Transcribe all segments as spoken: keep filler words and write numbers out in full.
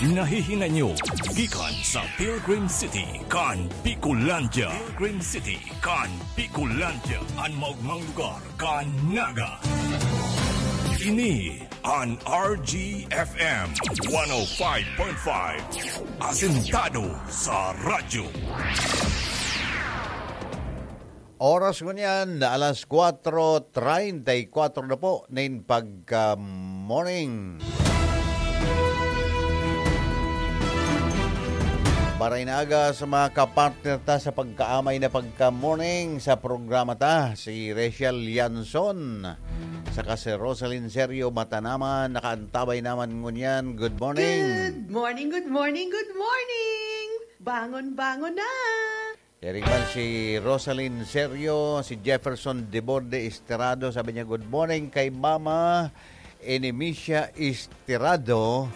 Nahihinay nyo gikan sa Pilgrim City kan Bicolandia. Pilgrim City kan Bicolandia, an maogmang lugar kan Naga. Ini an R G F M one oh five point five, asentado sa radyo. Oras ngunyan, alas kwatro treinta y cuatro na po nin pagka-morning. Maray na aga sa mga kapartner ta sa pagkaamay na pagka-morning sa programa ta, si Rachel Lianzon saka si Rosalyn Serio Matanaman, nakaantabay naman ngunyan. Good morning! Good morning, good morning, good morning! Bangon, bangon na! Dai man si Rosalyn Serio, si Jefferson Deborde Esterado, sabi niya, "Good morning kay Mama Enemisia Esterado,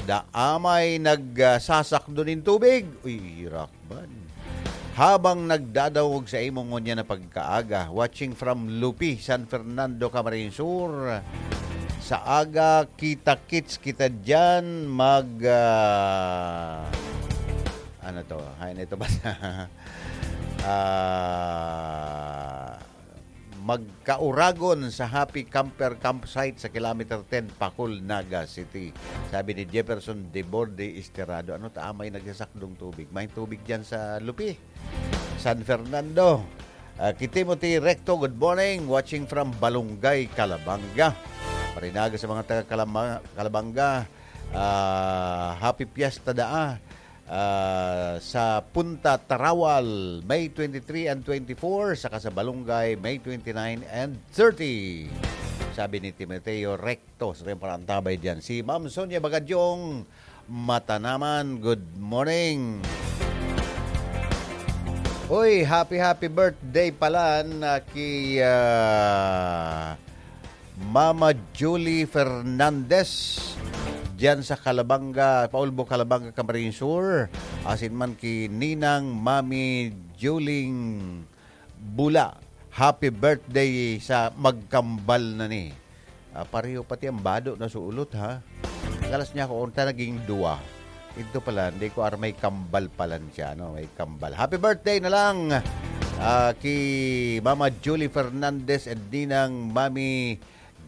da amay nagsasakdo nin tubig." Uy, irak man. Habang nagdadangog sa imo ngunyan na pagkaaga, watching from Lupi, San Fernando, Camarines Sur. Sa aga, kita-kits kita diyan, mag, ah, ano to? Hain ito ba? Ah, magkauragon sa Happy Camper Campsite sa Kilometer ten, Pacol, Naga City. Sabi ni Jefferson Deborde Esterado, "Ano ta amay nagsasakdong tubig? May tubig diyan sa Lupi, San Fernando." Ah, ki Timothy Recto, "Good morning. Watching from Balungay, Calabanga." Marinaga sa mga taga Calama-, Calabanga. Ah, happy fiesta daa. Ah, sa Punta Tarawal, May twenty-three and twenty-four, saka sa Balungay, May twenty-nine and thirty. Sabi ni Timoteo Recto, sa iyong parantabay diyan. Si Ma'am Sonia Bagadyong, Matanaman, good morning. Uy, happy, happy birthday pala na ki, ah, Mama Julie Fernandez diyan sa Calabanga, Paulbo, Calabanga, Camarines Sur. Asin man ki Ninang Mami Juling Bula. Happy birthday sa magkambal na ni. Ah, pareho pati ang bado na sulot, ha? Galas niya ako, unta naging duwa. Ito pala, hindi ko aram, may kambal pala siya, no? May kambal. Happy birthday na lang, ah, ki Mama Julie Fernandez and Ninang Mami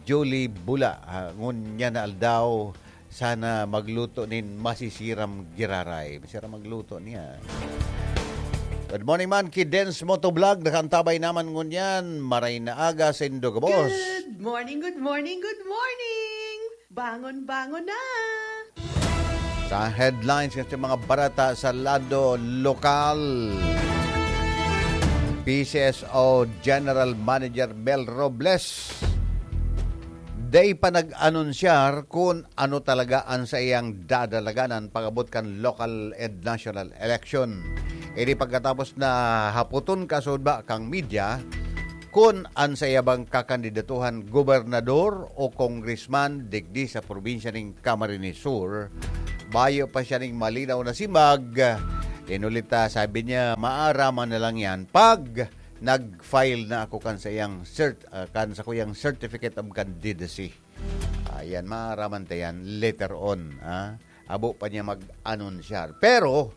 Julie Bula. Ah, ngunyan na aldaw, sana magluto nin masisiram giraray. Masira magluto niya. Good morning man ki Dens Motovlog, nakaantabay naman ngunyan. Maray na aga sa indo gabos. Good morning, good morning, good morning! Bangon, bangon na! Sa headlines ng mga barata sa lado lokal, P C S O General Manager Mel Robles, dai pa nag-anunsyar kun ano talaga an saiyang dadalaganan pag-abot kan local and national election. Ini pagkatapos na hapoton kasuodma kan media kun an saiya bang kakandidatuhan gobernador o congressman digdi sa probinsya nin Camarines Sur, bayo pa siya nin malinaw na simbag. Inulit ta, sabi niya, "Maaraman na lang yan pag nag-file na ako kan saiyang cert-, ah, kan sakuyang certificate of candidacy." Ayan, maaraman ta yan later on, ah. Abo pa niya mag-anunsyar. Pero,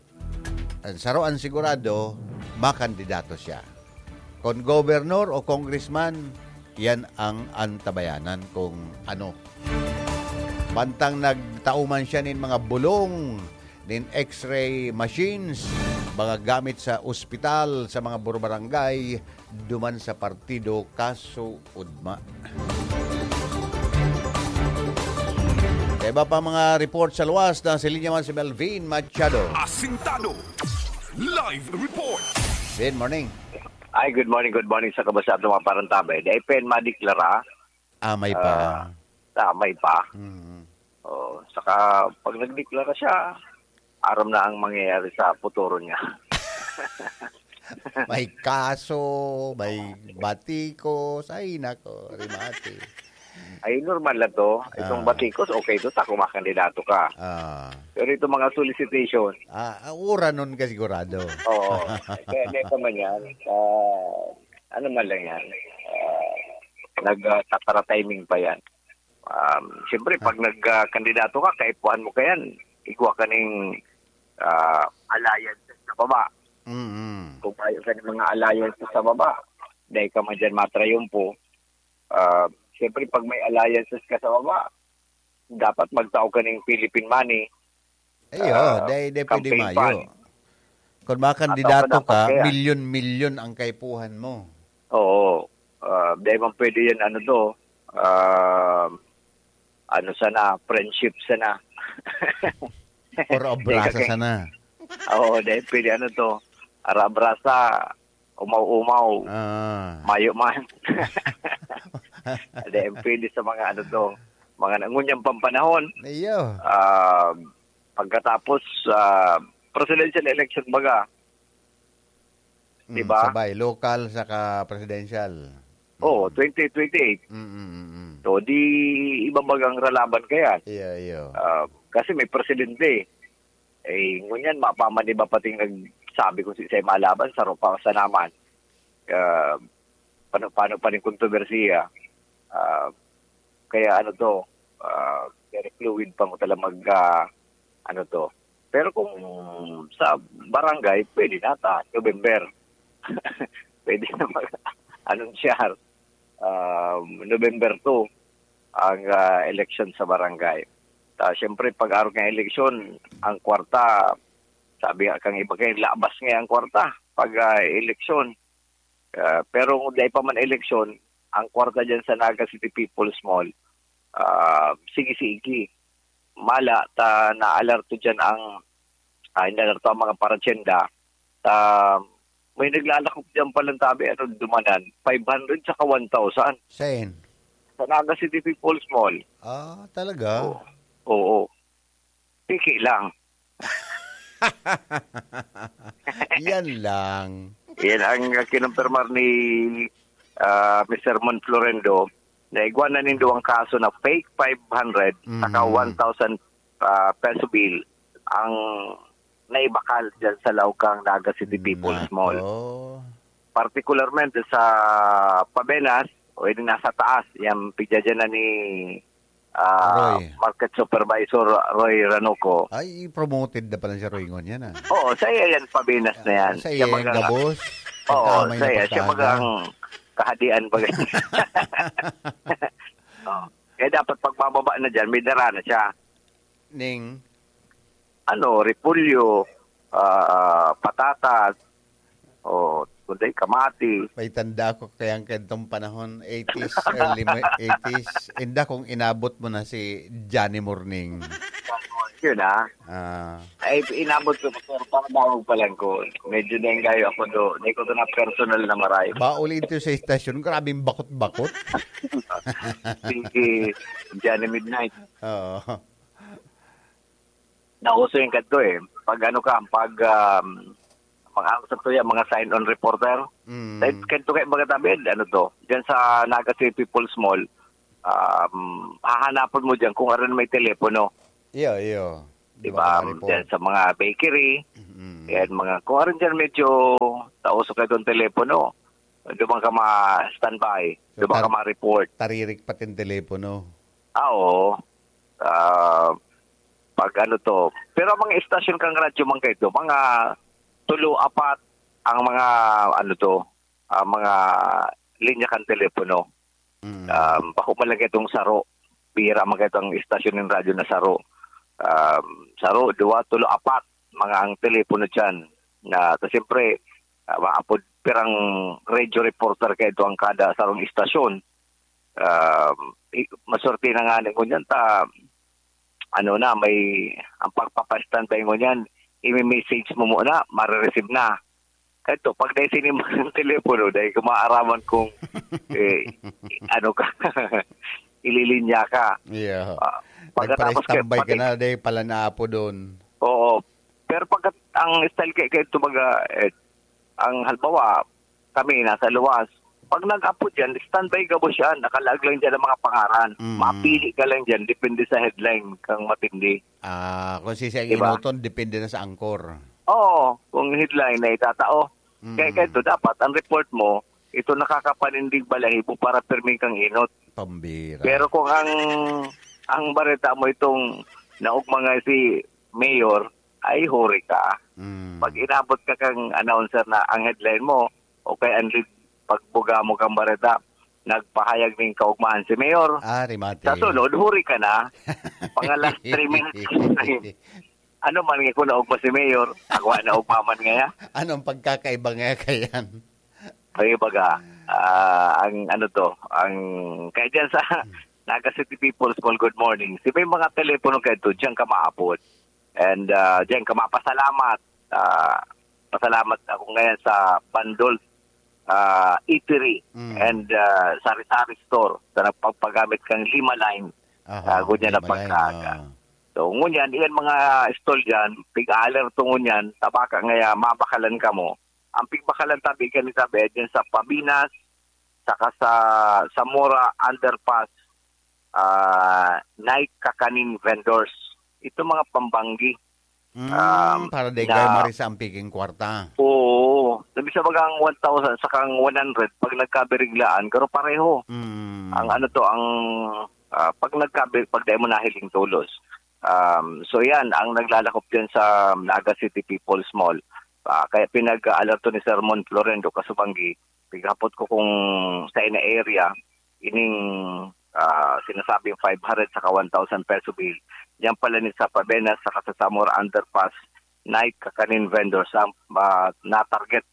ang saro ang sigurado, makandidato siya. Kon gobernador o congressman, yan ang antabayanan kung ano. Mantang nagtao man siya nin mga bulong, nin X-ray machines, mga gamit sa ospital, sa mga burbarangay, duman sa partido kasuodma. Sa iba pa mga report sa luwas, nasa linya man si Melvin Machado. Asintado. Live report. Good morning. Ay, good morning, good morning sa kabasahan ng mga parantabay. Dai pa yan madeklara. Ah, may pa. Ah, ah, may pa. Mm. Oh, saka pag nagdeklara siya, aram na ang mangyayari sa futuro niya. May kaso, may batikos. Ay, nako, remate. Ay, normal lang to. Itong Ah. batikos, okay to, ta, kumakandidato ka. Ah. Pero itong mga solicitation. Ah, ah, uranon ka sigurado. Oo. Kaya, hindi pa man yan. Ah, ano man lang yan. Ah, nag, ah, tatara timing pa yan. Um, siyempre, pag Ah. nag, ah, kandidato ka, kaipuhan mo ka yan. igwa ka ning, ah, alliances sa baba. Mm. Kung mayo ka ning mga alliances sa baba, dai ka man diyan matrayumpo. Ah, siyempre, pag may alliances ka sa baba, dapat magtao ka ning Philippine money. Iyo, ah, dai, dai pwede campaign mayo. Fund. Kung makandidato ka, kaya milyon-milyon ang kaipuhan mo. Oo. Ah, dai man pwede yan, ano to, ah, ano sana, friendship sana. Or abrasa sana. Oo, dai pwede, ano to, ara-abrasa, umaw-umaw. Ah. Mayo man. Dai pwede sa mga, ano to, mga nangunyang pampanahon. Iyo. Ah, pagkatapos, ah, presidential election baga. Di ba? Mm, sabay, local saka presidential. Oo, mm. Twenty twenty-eight. Mm, mm, mm, mm. So, di iba bagang ralaban kaya. Iyo, iyo. Ah, kasi may presidente. Eh, ngunyan, mapaman iba pating nagsabi kung si-, siya malaban, saro pa sa naman. Ah, paano, paano pa rin kontrobersiya? Ah, kaya ano to, ah, very fluid pa mo talaga mag, ah, ano to. Pero kung sa barangay, pwede na ta, November. Pwede na mag-, anunsyar. Um, November two ang, ah, eleksyon sa barangay. Ta, siyempre, pag arog ng eleksyon, ang kwarta, sabi nga kang iba kayo, labas nga ang kwarta pag, ah, eleksyon. Ah, pero kung dai pa man eleksyon, ang kwarta dyan sa Naga City People's Mall, ah, sige-sige. Mala, ta naalerto dyan ang, ah, inalerto ang mga paratyenda. Ta, may naglalakop dyan palang tabi, ano, dumanan, five hundred saka one thousand. Saan? Sa Naga City People's Mall. Ah, talaga? Oo. Oo. Piki lang. Yan lang. Yan ang kinumpirmar ni, ah, Mister Mon Florendo na igwa na nindo ang kaso na fake five hundred saka Mm. one thousand, ah, peso bill ang naibakal dyan sa Laukang Naga City People's Nako. Mall. Partikularmente sa Pabenas, o yung nasa taas, yung pigdadyanan ni, ah, Roy. Market Supervisor Roy Ranoco. Ay, promoted na pala si Roy ngunyan, ah. Oo, sa iya yan, Pabenas na yan. Sa Siya iya yung baga- gabos. Oo, Ang kamay sa na iya. Siya pagkahaga. Bagang kahadian baga. Oo. Kaya dapat pagbababa na dyan, may dara na siya. Ning? Ano, repolyo, ah, patatas, o kundi kamati. May tanda ko kayang kantong panahon, eighties, early mo-, eighties. Inda kung inabot mo na si Johnny Morning. Yun, ah. Ah. Ay, inabot ko, pero para daw pa lang ko. Medyo nenggayo ako do. Hindi ko to na personal na maray. Bauli ito sa estasyon, grabing bakot-bakot. Si Johnny Midnight. Oo. Nauso yung kadto eh. Pag ano ka, pag, um, mga, ano sa tuya, mga sign-on reporter. Mm. Dahil kadto kayo, mga tabi, ano to, dyan sa Naga City People's Mall, um, hahanapon mo dyan kung aron may telepono. Iyo, iyo. Di Di ba, ba? Mga report. Dyan sa mga bakery, Mm. yan, mga, kung aron dyan medyo tauso kayo doon telepono, doon ka ma-standby, So, doon ka tar-, ma-report. Taririk pati yung telepono. Ah, oo. Ah, pag ano to. Pero ang mga estasyon kang radyo man kayo, mga tulo, apat ang mga, ano to, ah, mga linya kan telepono. Mm. Um, bako man lang itong saro. Bihira man itong estasyon ng radyo na saro. Um, saro, duwa, tulo, apat, mga ang telepono dyan. Na, ta siyempre, ah, maapod pirang radio reporter kayo ang kada sarong estasyon. Um, i-, maswerte na nga ni ngunyan ta, ano na, may, ang pagpapastandby ngunyan, imi-message mo muna, marireceive na. Kato, pag dahil sinimba ng telepono, dahil kumaaraman kung, eh, ano ka, ililinya ka. Yeah. Ah, pagkatapos ka, Nagpa-standby ka pati na, dahil pala naapo doon. Oo. Pero pag ang style kay, kay ito baga, eh, ang halimbawa, kami nasa luwas, pag nag-apo dyan, standby gabos yan, nakalaag lang dyan ang mga pangaran. Mm. Mapili ka lang dyan, depende sa headline kang matindi. Ah, kung si siya Diba? Inuton, depende na sa angkor. Oo, kung headline na itatao. Mm. Kaya, kaya ito, dapat, ang report mo, ito nakakapanindig balahibo para pirmi kang inot. Pambira. Pero kung ang, ang bareta mo itong naog mga si mayor, ay huri ka. Mm. Pag inabot ka kang announcer na ang headline mo, o kaya ang lead, pagbuga mo kang bareta, nagpahayag ning kaugmahan si mayor. Ah, rimate. Sa sunod, huri ka na. Mga last three minutes. Ano man nga kung naugma si mayor, ako na ugma man ngaya. Anong pagkakaiba nga kayan? Ay, baga, ah, ang ano to, ang, kaya dyan sa Naga City People's Mall, good morning. Si may mga telepono kayo to, dyan ka maapod. And, ah, dyan ka mapasalamat. Ah, pasalamat ako ngayon sa Bandol, ah, Eatery Mm. and, ah, Sari-Sari Store sa nagpagpagamit kang lima line. Aha, Ah, gunyan na lima line, pagkaaga. ah. So, ngunyan, iyan mga stall dyan, pig-alerto ngunyan, tabaka ngaya, mabakalan ka mo. Ang pigbakalan tabi, kani tabi, dyan sa Pabinas, saka sa Zamora Underpass, ah, night kakanin vendors. Ito mga pambanggi. Mm, Um, para di na kayo marisa ang piking kwarta. Oo. Sabi sa bagang one thousand, sakang one hundred, pag nagkabiriglaan, garo pareho. Mm. Ang ano to, ang, ah, pag nagkabi-, pag dahil mo nahiling tulos. Um, so yan, ang naglalakop din sa Naga City People's Mall. Ah, kaya pinag-alerto ni Sermon Florendo Kasubanggi, pighapot ko kung sa ina area, ining, ah, sinasabing five hundred saka one thousand peso bill. Yan pala ni sa Pabenas saka sa Zamora Underpass, night kakanin vendors ang, ah, na-target.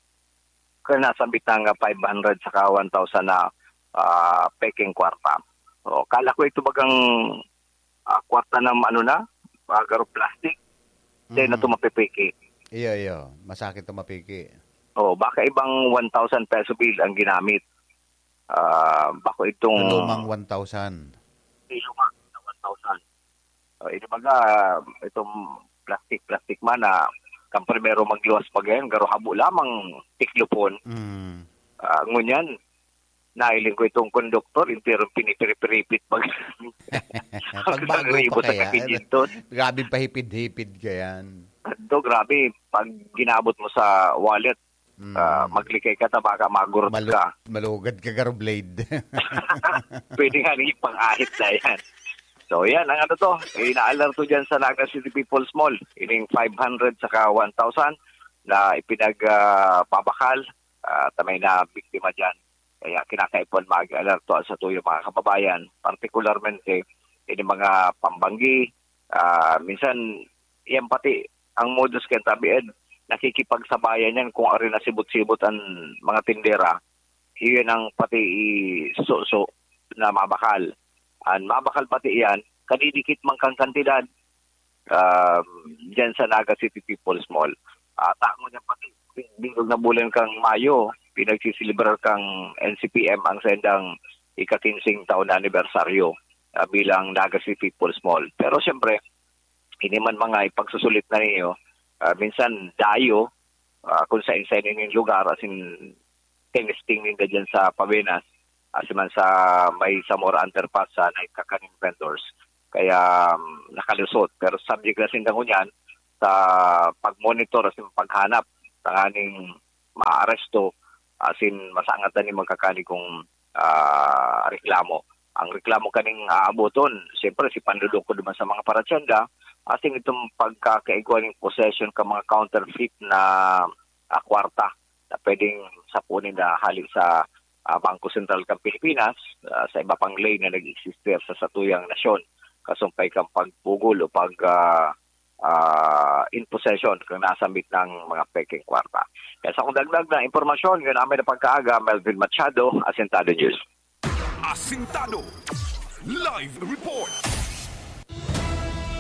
Kaya nasambit na nga five hundred saka one thousand na, ah, peking kwarta. O, kala ko ito bagang, ah, kwarta na ano na, ah, garo plastic. Then Mm. na ito mapipiki. Iyo, iyo. Masakit ito mapiki. O, baka ibang one thousand peso bill ang ginamit. Ah, bako itong Lumang one thousand. Di lumang one thousand. O, ini baga, itong plastic-plastic man na kang primero magluwas pa gayon, garo habo lamang tiklopon. Mm. Ah, ngunyan, nailing ko itong konduktor, entero pinipiripiripit pag Pagbago Isang ribo pa sa kaya, kapigintos. Grabe pahipid-hipid kayan. Ito, grabe. Pag ginabot mo sa wallet, Mm. ah, maglikay ka, tabaka magurot Malu-, ka. Malugad ka, garo blade. Pwede nga rin pang-ahit na yan. So, yan, ang ano to, ina-alerto dyan sa Naga City People's Mall. Ining five hundred saka one thousand na ipinag, ah, babakal, ah, ta may na biktima dyan. Kaya kinakaipuhan mag-alerto ang satuyang mga kababayan, partikularmente, ini mga pambanggi, ah, minsan, yan pati ang modus kaya tabi, Ed, nakikipagsabayan yan kung ari na sibot-sibot ang mga tindera, iyon ang pati isuso na mabakal. Ang mabakal pati yan, kadidikit man kang kantidad, um, dyan sa Naga City People's Mall. Ah, tamo niya pati, bilog na bulan kang Mayo, pinagsisilibrar kang N C P M ang sendang ika-kinsing taon na anibersaryo, ah, bilang Naga City People's Mall. Pero siyempre, ini man mga ipagsusulit na ninyo, ah, minsan dayo, ah, kung sa inside ning lugar, as in, tinesting ninda dyan sa Pabenas, as in man sa may Zamora Underpass sa night kakanin vendors. Kaya, um, nakalusot. Pero subject na sinda ngunyan sa pag-monitor, as in, paghanap, tanganing maaresto, as in, masangat na ni magkakani kung, ah, reklamo. Ang reklamo kaning aaboton, siyempre, si panluloko naman sa mga paratyenda, as in, itong pagkakaigwa ning possession ka mga counterfeit na, ah, kwarta na pwedeng sapunin na hali sa, ah, Bangko Sentral kan Pilipinas, ah, sa iba pang lane na nag-existe sa satuyang nasyon, kasumpay kan pagpugol o pag, ah, ah, in possession kung nasambit ng mga pekeng kwarta. Kaya sa akong dagdag na impormasyon, yun ang may napagkaaga, Melvin Machado, Asintado News. Asintado. Live report.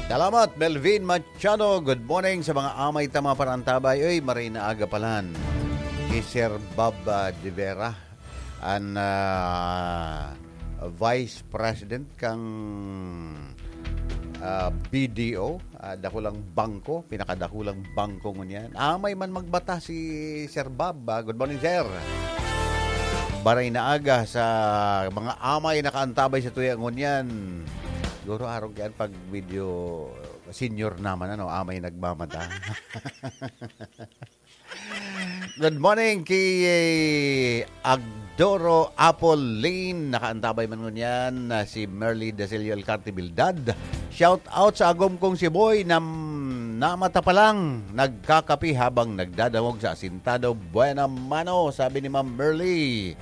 Salamat, Melvin Machado. Good morning sa mga amay ta mga parantabay. Uy, maray na aga palan. Kay Sir Bob, ah, De Vera, an, ah, Vice President kang, ah, B D O, ah, dakulang bangko, pinakadakulang bangko ngunyan. Amay man magbata si Sir Bob, ah. Good morning, sir. Baray na aga sa mga amay nakaantabay sa tuya ngunyan. Siguro arog yan pag medyo senior naman, ano, amay nagmamata. Good morning kay Agdoro Apple Lane. Nakaantabay man ngunyan na si Merly Dasilio Alcarte Bildad. Shout out sa agom kong si Boy na na mata pa lang, nagkakape habang nagdadangog sa asintado. Buena mano, sabi ni Ma'am Merly.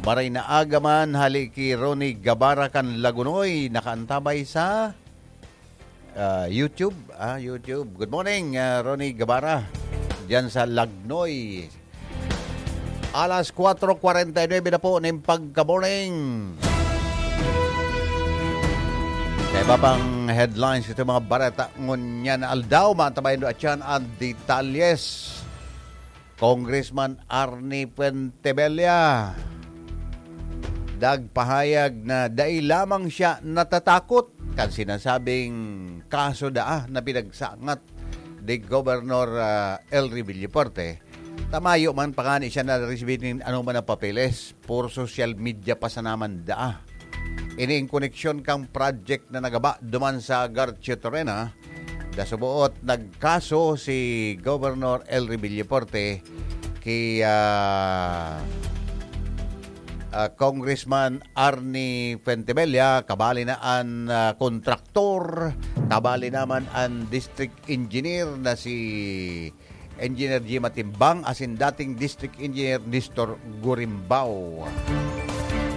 Maray na aga man, hali ki Ronnie Gabara kan Lagunoy, nakaantabay sa, ah, YouTube. Ah, YouTube. Good morning, ah, Ronnie Gabara. Diyan sa Lagnoy. Alas kwatro kwarenta y nuebe na po nin pagka-morning. Sa iba pang headlines, ito mga bareta ngunyan na aldaw, maantabayan do atyan ang detalyes. Congressman Arnie Fuentebella nagpahayag na dai lamang siya natatakot kan sinasabing kaso daa na pinagsangat ni Gobernador, ah, Elry Villafuerte. Ta mayo man pa ngani siya naresibi nin anoman na papeles, puro social media pa sana man daa. Ini in koneksyon kan project na nagaba duman sa Garchiotorena, nasuboot nagkaso si Governor Elry Villafuerte ki, ah, ah, Congressman Arnie Fuentebella, kabali na an, ah, kontraktor, kabali naman an district engineer na si Engineer Jim Atimbang asin dating District Engineer Nestor Gurimbao.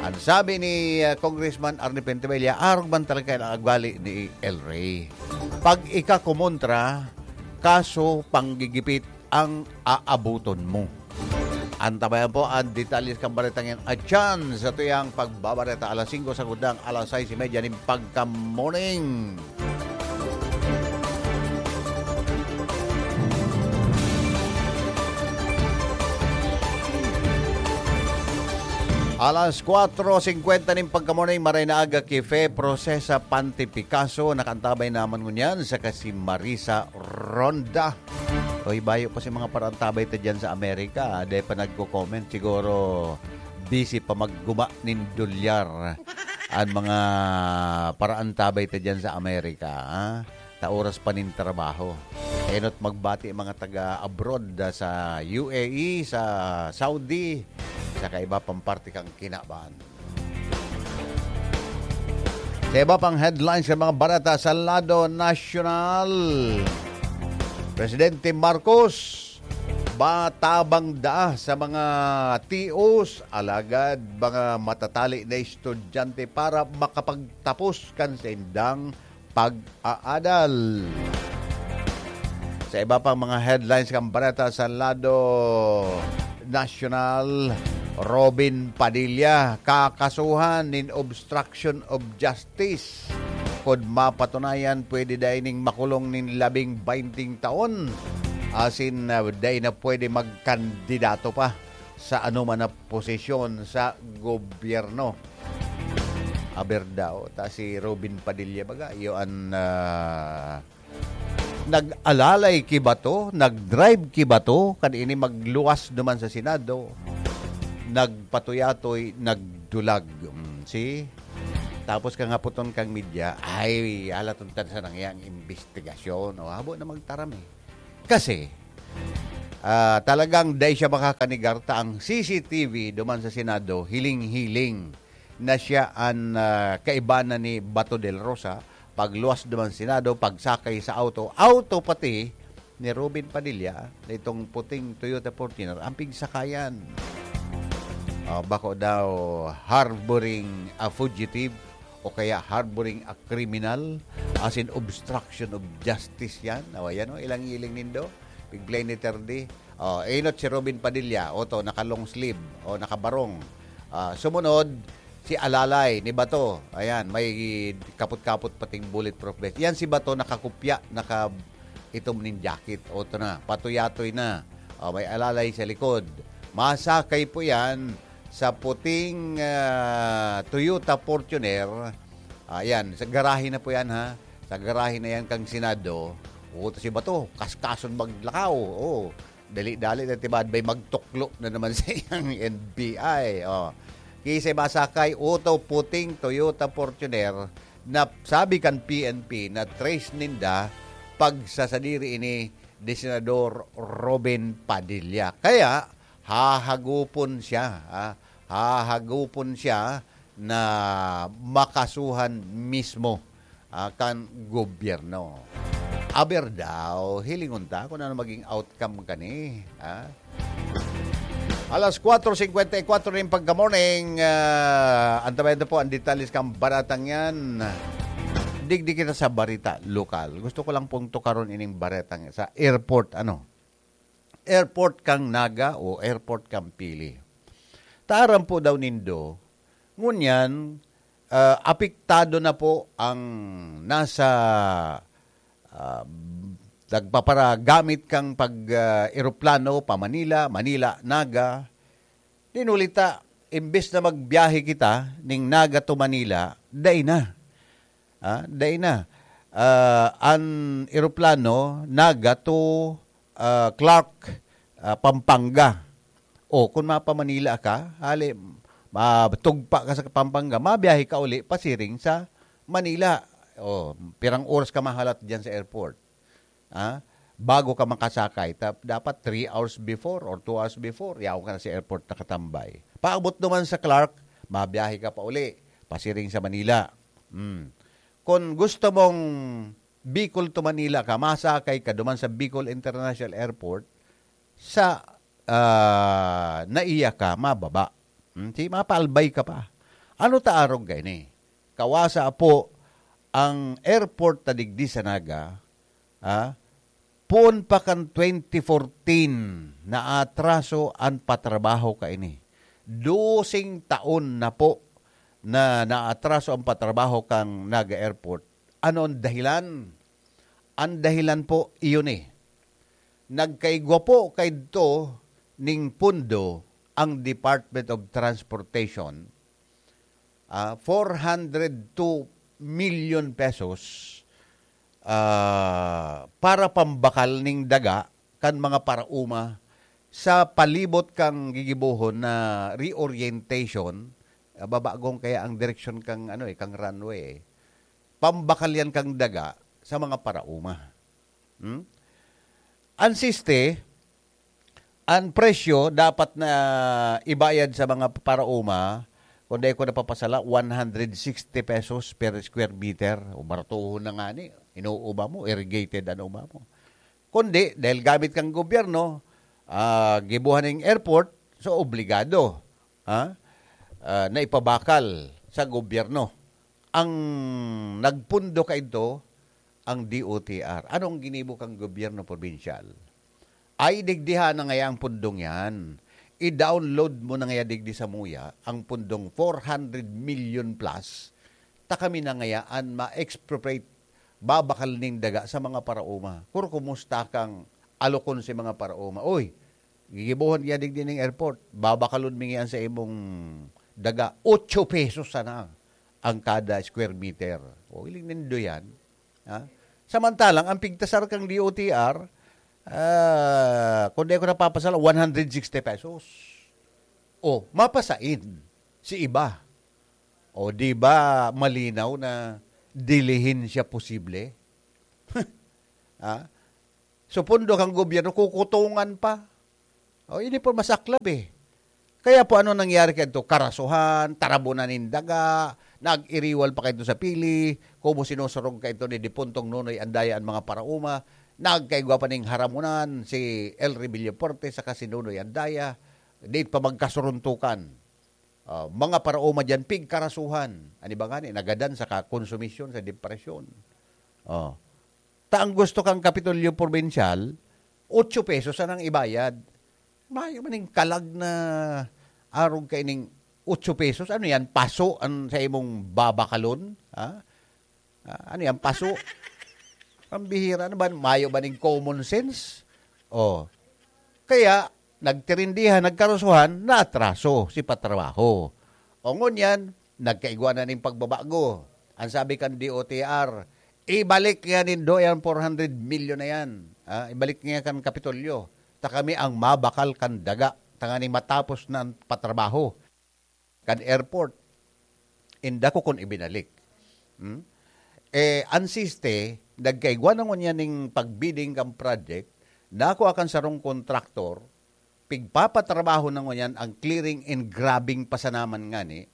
An sabi ni, ah, Congressman Arnie Fuentebella, arog man talaga ang ugali ni Elry. Pag ikakumontra, kaso panggigipit ang aabuton mo. Antabayan po ang detalye kan baretang yan. Atyan sa tuyang pagbabareta alas singko sa gudang alas sais y media nin pagka-morning. Alas kwatro singkwenta nin pagka-morning, maray na aga ki Fe Procesa Pante Picasso, nakaantabay naman ngunyan, saka si Marisa Ronda. Oy, bayo pa si mga parantabay ta dyan sa Amerika, ah. Dai pa nagko-comment. Siguro busy pa magguma nin dolyar an mga parantabay ta dyan sa Amerika, ah. Ta oras pa nin trabaho. Enot magbati mga taga-abroad, ah, sa U A E, sa Saudi, sa kaiba pang parte kan kinaban. Sa iba pang headlines sa mga bareta sa lado nasyonal, Presidente Marcos, matabang daa sa mga tios, alagad mga matatali na estudyante para makapagtapos kan saindang pag-aadal. Sa iba pang mga headlines kan bareta sa lado nasyonal, Robin Padilla kakasuhan nin obstruction of justice. Kun mapatunayan, pwede dai ning makulong nin labing baynting taon. Asin, ah, dai na pwede magkandidato pa sa anoman na posisyon sa gobyerno. Aber daw, ta si Robin Padilla baga, iyo an, ah, nag-alalay ki Bato, nag-drive ki Bato, kan ini magluwas duman sa Senado, nagpatuyatoy, nagdulag. Mm, see? Tapos kang hapoton kang media, ay, halaton ta sana ngayang imbestigasyon. O, habo na magtaram eh. Kasi, ah, talagang dai siya makakanigar ta ang C C T V duman sa Senado, hiling-hiling na siya an, ah, kaibanan ni Bato del Rosa, pagluwas duman Senado, pagsakay sa auto, auto pati ni Robin Padilla, na itong puting Toyota Fortuner, ang pigsakayan. Ah, bako daw harboring a fugitive o kaya harboring a criminal, as in obstruction of justice yan. Awa yan, oh, ilang-iling nindo. Pig-play ni Terdy. Oh, inot si Robin Padilla, oto, naka-long sleeve, o nakabarong. Ah, sumunod, si Alalay ni Bato. Ayan, may kapot-kapot pating bulletproof vest. Yan si Bato, nakakupya, naka itom nin jacket. Oto na, patuyatoy na. Oh, may Alalay sa likod. Masakay po yan sa puting, ah, Toyota Fortuner. Ayan, sa garahe na po yan, ha. Sa garahe na yan kang Senado. Oto si Bato, kaskason maglakaw. Oh, dali-dali na tibad, may magtuklo na naman sa iyang N B I. Oh. Kisay masakay, oto puting Toyota Fortuner na sabi kan P N P na trace ninda pagsasadiri ini ni Senador Robin Padilla. Kaya, hahagupon siya, ah, hahagupon siya na makasuhan mismo, ah, kan gobyerno. Aber daw, hilingon ta kung ano maging outcome kani, ha? Alas kwatro singkwenta y kwatro na yung pagka-morning. Ah, antabayan na po ang detalles kang baratang yan. Digdi kita sa barita lokal. Gusto ko lang pong tukaron ining baretang sa airport, ano? Airport kang Naga o airport kang Pili. Taaram po daw nindo, ngunyan, ah, apektado na po ang nasa, ah, nagpaparagamit kang pag, ah, eroplano pa Manila, Manila, Naga. Dinulita, imbes na magbiyahe kita ning Naga to Manila, dai na. Ah, dai na. Ah, an eroplano, Naga to, ah, Clark, ah, Pampanga. O, kung mapa-Manila ka, hali, matugpa ka sa Pampanga, mabiyahe ka uli, pasiring sa Manila. O, pirang oras ka mahalat dyan sa airport. Ah, bago ka makasakay, ta-, dapat three hours before or two hours before, yaon ka na sa airport nakatambay. Paabot naman sa Clark, mabiyahe ka pa uli, pasiring sa Manila. Hmm. Kung gusto mong Bicol to Manila ka, masakay ka duman sa Bicol International Airport, sa, ah, naiya ka, mababa. Hmm, si mapaalbay ka pa. Ano ta arog kaini? Kawasa po ang airport ta digdi sa Naga, ah, poon pa kan twenty fourteen, naatraso an patrabaho kaini. Doseng taon na po na naatraso ang patrabaho kan Naga Airport. Ano ang dahilan? Ang dahilan po, iyon eh. Nagkaigwa po kaidto ning pondo ang Department of Transportation, ah, four hundred two million pesos, ah, para pambakal ning daga kan mga paraoma sa palibot kang gigibohon na reorientation, ah, babagong kaya ang direksyon kang, ano eh, kang runway eh. Pambakal yan kang daga sa mga paraoma. Hmm? An siste, an presyo dapat na ibayad sa mga paraoma, kung dai ko napapasala, one hundred sixty pesos per square meter. O, baratuhon na nga ni, inuuba mo, irrigated an uba mo. Kundi, dahil gamit kang gobyerno, ah, gibuhan ning airport, so obligado, ha? Ah, na ipabakal sa gobyerno. Ang nagpundo kaidto, ang D O T R. Anong ginibo kang gobyerno probinsyal? Ay, digdiha na ngaya ang pundong yan. I-download mo na ngaya digdi sa muya ang pundong four hundred million plus. Ta kami na ngaya an ma-expropriate, babakal ning daga sa mga paraoma. Kuro, kumusta kang alokon si mga paraoma? Oy, gigibohon kaya digdi ning airport. Babakalon mi ngaya sa imong daga. Ocho pesos sana ang kada square meter. O, iling nindo yan. Ha? Samantalang, ang pigtasar kang D O T R, ah, kung di ako napapasala, one hundred sixty pesos. O, mapasain si iba. O, di ba malinaw na dilihin siya posible? Ha? So, pondo kang gobyerno, kukutungan pa. O, ini po masaklab eh. Kaya po, ano nangyari kadto? Karasuhan, tarabunan nin daga, nag-iriwal pa kadto sa Pili, kumo sinusurog kadto ni Dipuntong Nonoy Andaya an mga paraoma, nagkaigwa pa ning haramunan si Elry Villafuerte saka si Nonoy Andaya, di pa magkasuruntukan. Ah, mga paraoma diyan, pigkarasuhan. Ano ba ngani? Nagadan sa kakonsumisyon, sa depresyon. Oh. Ta ang gusto kang Kapitolyo Probinsyal, otso pesos anang ibayad. Mayo man ning kalag na arog kaining otso pesos. Ano yan? Paso ang sa imong babakalon? Ha? Ah, ano yan? Paso? Ang bihira na ba? Mayo ba ning common sense? Oh. Kaya, nagtirindihan, nagkarusuhan, naatraso si patrabaho. O ngunyan, nagkaigwa na ning pagbabago. Ang sabi kan D O T R, "Ibalik niya nindo yan four hundred million na yan. Ah, ibalik niya kan Kapitolyo. Ta kami ang mabakal kan daga. Tanganing matapos na ang patrabaho kan airport. Inda ko kun ibinalik." Hmm? Eh, an siste, nagkaigwa na ngunyan ning pagbidding kan project, nako akan sarong kontraktor, pigpapatrabaho na ngunyan ang clearing and grubbing pa sana man ngani,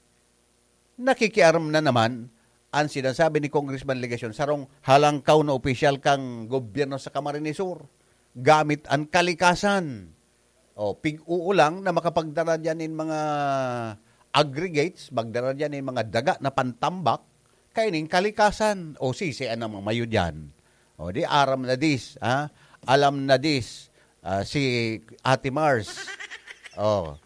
nakikiaram na naman Ang sinasabi ni Congressman Legacion, sarong halangkaw na opisyal kan gobyerno sa Camarines Sur, gamit an kalikasan. O, pig-uulang na makapagdara diyan nin mga aggregates, magdara diyan nin mga daga na pantambak, kaining kalikasan. O, sisi an mga mayo diyan. O, di aram na dis, ha? Alam na dis, ah, si Ate Mars. O.